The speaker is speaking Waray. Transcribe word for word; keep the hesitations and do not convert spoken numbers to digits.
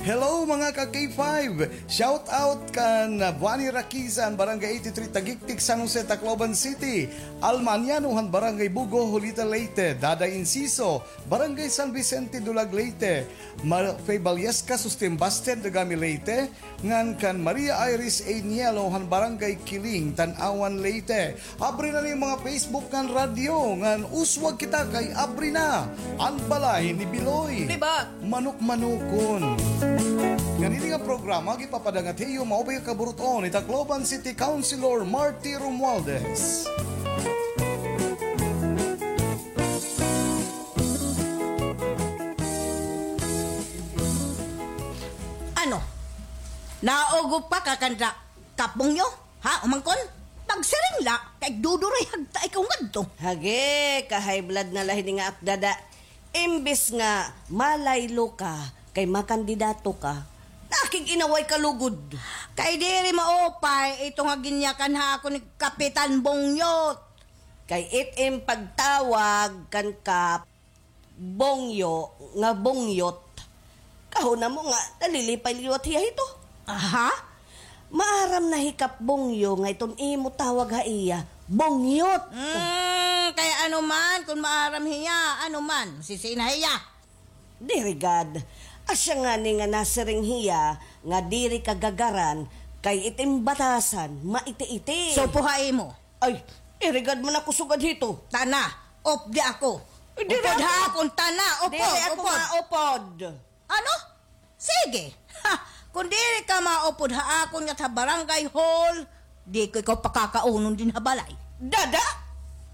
Hello, mga ka K five! Shout out kan Vani Rakiza han Barangay eighty-three Tagiktik, San Jose, Tacloban City. Alma Aniano han Barangay Bugo, Julita, Leyte. Dada Inciso, Barangay San Vicente, Dulag, Leyte. Mar-, Faye Ballesca, Sustin Basten, Dagami, Leyte. Ngan kan Maria Iris A. Nielo han Barangay Kiling, Tanauan, Leyte. Abri na an iyo mga Facebook ngan radyo, ngan uswag kita kay abri na an balay ni Biloy. Di ba? Manukmanukon. Ngan ini nga programa, gipapadangat ha iyo, maupay nga kaburut-on, ni Tacloban City Councilor Marty Romualdez. Ano? Naugop ka, kakanda? Kapbongyo? Ha, umangkon? Pagsiring la, kay duduray hagta ikaw ngadto. Hage, ka-high blood na la hini nga ak, dada. Imbis nga malaylo ka, kay makandidato ka, nakig-inaway ka lugod. Kay diri maupay ito nga ginyakan ha ako ni Kapitan Bongyot. Kay it im pagtawag kan Kap Bongyo nga bongyot. Kahuna mo nga nalilipay liwat hiya hito. Aha? Maaram na hi Kap Bongyo nga iton imo tawag ha iya, bongyot. Hmm, kay ano man, kun maaram hiya, ano man, sisina hiya. Diri gad. Asya ngani nga nasiring hiya nga diri ka gagaran kay it im batasan maiti-iti. Supo ha imo. Ay, irigad man ako sugad hito. Tana, updi ako. Eh, diri upod ako. Ha akon, tana, upod, diri ako upod. Maupod. Ano? Sige. Ha, kung diri ka maupod ha akon ngat ha barangay hall, di ko ikaw pakakaunon din ha balay. Dada,